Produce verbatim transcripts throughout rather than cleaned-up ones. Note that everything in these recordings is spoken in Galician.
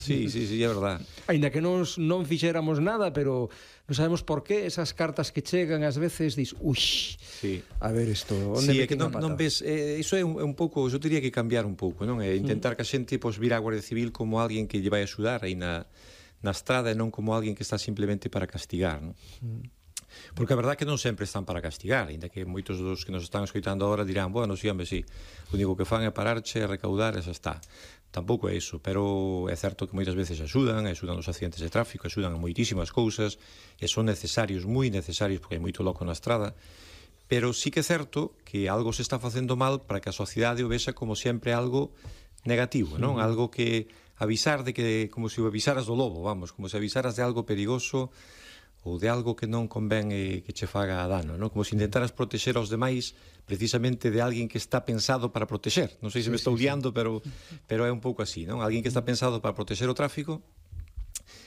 Sí, sí, sí, é verdad. Ainda que nos non fixéramos nada, pero non sabemos por qué esas cartas que chegan ás veces dis, ux, sí. A ver isto, onde sí, me é que non, non ves, eh, iso é un, é un pouco, eu diría que cambiar un pouco, non? É intentar que a xente pois, vir á Guardia Civil como alguén que lle vai axudar aí na, na estrada e non como alguén que está simplemente para castigar, non? Mm. Porque a verdade é que non sempre están para castigar, ainda que moitos dos que nos están escoitando agora dirán, bueno, sí, hombre, sí, o único que fan é pararche, recaudar e xa está. Tampouco é iso, pero é certo que moitas veces axudan, axudan os accidentes de tráfico, axudan a moitísimas cousas, e son necesarios, moi necesarios, porque hai moito loco na estrada, pero sí que é certo que algo se está facendo mal para que a sociedade o vexa como sempre algo negativo, non? Uh-huh. Algo que avisar de que, como se o avisaras do lobo, vamos, como se avisaras de algo perigoso ou de algo que non convén eh, que che faga dano, non? Como se intentaras protexer aos demais precisamente de alguén que está pensado para protexer. Non sei se me estou liando, pero, pero é un pouco así, non? Alguén que está pensado para protexer o tráfico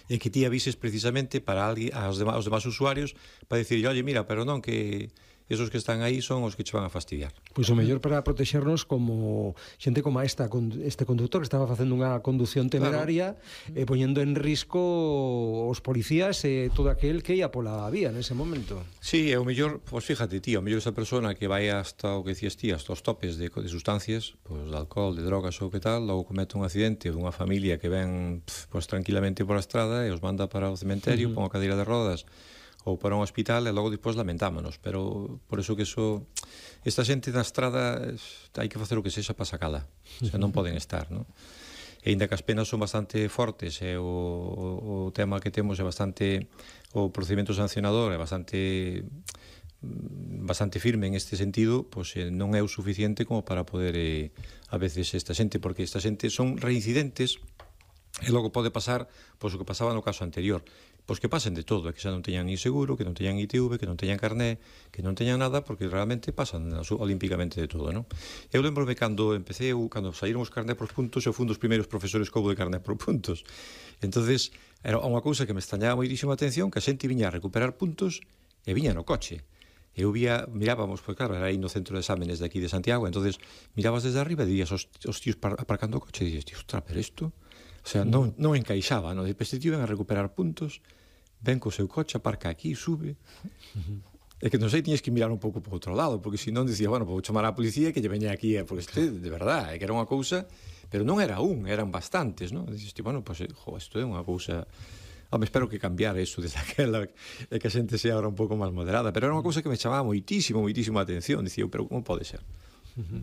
e que ti avises precisamente para alguén, aos demais, aos demais usuarios para dicir, oye, mira, pero non, que esos que están aí son os que che van a fastidiar. Pois o mellor para protexernos como xente como esta, este conductor que estaba facendo unha condución temeraria, claro, e poñendo en risco os policías e todo aquel que ia pola vía nese momento. Sí, é o mellor, pois fíjate, tío, o mellor esa persona que vai hasta o que decías ti, hasta os topes de, de sustancias, pois de alcohol, de drogas ou que tal, logo comete un accidente dunha familia que ven pois tranquilamente por a estrada e os manda para o cementerio, uh-huh, pon a cadeira de rodas ou para un hospital e logo despois lamentámonos, pero por eso que eso, esta xente na estrada hai que facer o que sexa para sacala, o sea, non poden estar, non? E ainda que as penas son bastante fortes e o, o, o tema que temos é bastante, o procedimento sancionador é bastante bastante firme en este sentido, pois eh, non é o suficiente como para poder eh, a veces esta xente, porque esta xente son reincidentes e logo pode pasar pois o que pasaba no caso anterior, pois que pasen de todo, que xa non teñan ni seguro, que non teñan I T V, que non teñan carné, que non teñan nada, porque realmente pasan olímpicamente de todo, non? Eu lembrome cando empecé, cando saíron os carné por puntos, eu fui un dos primeiros profesores que houve de carné por puntos. Entonces, era unha cousa que me extrañaba moitísima atención, que a xente viña a recuperar puntos e viña no coche. Eu vía, mirábamos, pois claro, era aí no centro de exámenes de aquí de Santiago, entonces mirabas desde arriba e días os, os tíos aparcando o coche e dices, tío, ostra, pero isto... O sea, non, non encaixaba, non? Depois este tío ven a recuperar puntos, ven co seu coche, aparca aquí, sube... Uh-huh. É que non sei, tiñes que mirar un pouco por outro lado, porque senón dicía, bueno, vou chamar a policía que lle veña aquí, porque este, de verdade, é que era unha cousa, pero non era un, eran bastantes, non? Dices, bueno, pois, pues, jo, isto é unha cousa... Home, espero que cambiara iso desde aquela, e que a xente sea ahora un pouco máis moderada, pero era unha cousa que me chamaba moitísimo, moitísimo a atención, dicía, pero como pode ser? Uh-huh.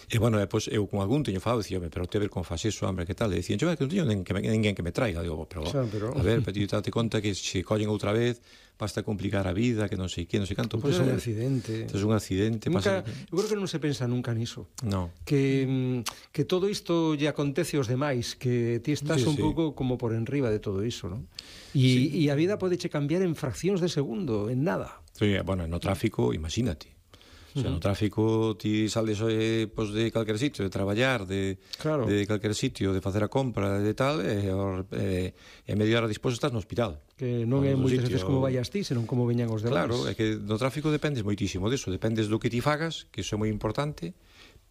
E, bueno, depois eu con algún teño falado, dicía, pero te ver con faz eso, hombre, que tal? E dicían, yo, que non teño ninguén que me traiga. Digo, pero, xa, pero... a ver, pero ti date conta que se collen outra vez, basta complicar a vida, que non sei que, non sei canto. Pois é un accidente. Pois un accidente. Nunca, pasa... Eu creo que non se pensa nunca niso. No. Que, que todo isto lle acontece aos demais, que ti estás sí, un sí. pouco como por enriba de todo iso, non? E, sí. e a vida podeche cambiar en fraccións de segundo, en nada. Sí, bueno, no tráfico, imagínate. O sea, no tráfico ti sales eh, pues, de calquer sitio, de traballar, de, claro. de calquer sitio, de facer a compra, de tal, e eh, eh, media hora disposto estás no hospital. Que non é moitas veces como vayas ti, senón como veñan os demais. Claro, é que no tráfico dependes moitísimo disso, dependes do que ti fagas, que iso é moi importante,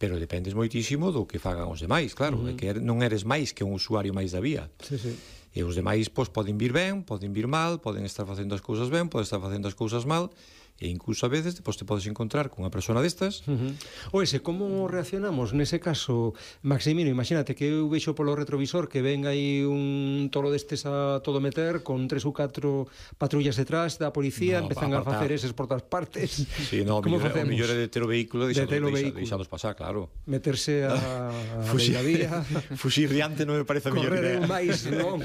pero dependes moitísimo do que fagan os demais, claro, uh-huh. é que non eres máis que un usuario máis da vía. Sí, sí. E os demais, pois, poden vir ben, poden vir mal, poden estar facendo as cousas ben, poden estar facendo as cousas mal, e incluso a veces depois te podes encontrar con unha persona destas. Uh-huh. O ese, como reaccionamos nese caso, Maximino? Imagínate que eu vexo polo retrovisor que ven aí un toro destes a todo meter con tres ou catro patrullas detrás da policía, no, empezan a facer eses por todas partes. Sí, no, o mellor é de ter o vehículo e deixados pasar, claro. Meterse a, a la vía. Fuxir diante non me parece a mellor idea. Correr máis, non?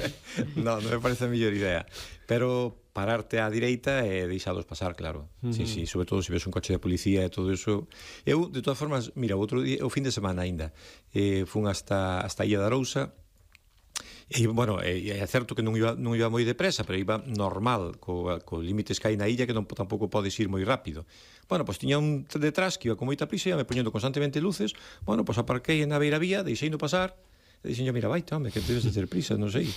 No, non me parece a mellor idea. Pero pararte á direita e deixalos pasar, claro. Uh-huh. Sí, sí, sobre todo se ves un coche de policía e todo eso. Eu, de todas formas, mira, outro día, o fin de semana aínda, eh, fun hasta, hasta a Illa da Arousa, e, bueno, é, é certo que non iba, non iba moi depresa, pero iba normal, co, co límites que hai na illa, que non, tampouco podes ir moi rápido. Bueno, pois pues, tiña un detrás que iba con moita prisa, e me poñendo constantemente luces, bueno, pois pues, aparquei na beira vía, deixei no pasar, e dixen, mira, vai, home, que debes de ter prisa, non sei.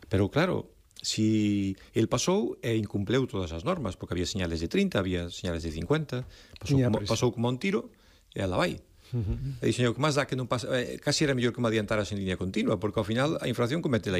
Pero, claro, si el pasou e incumpleu todas as normas, porque había señales de trinta, había señales de cincuenta, pasou, como, pasou como un tiro e ela vai. Uh-huh. E dixen, o que máis dá que non pasa, eh, casi era mellor que me adiantaras en línea continua, porque ao final a infracción cometela igual.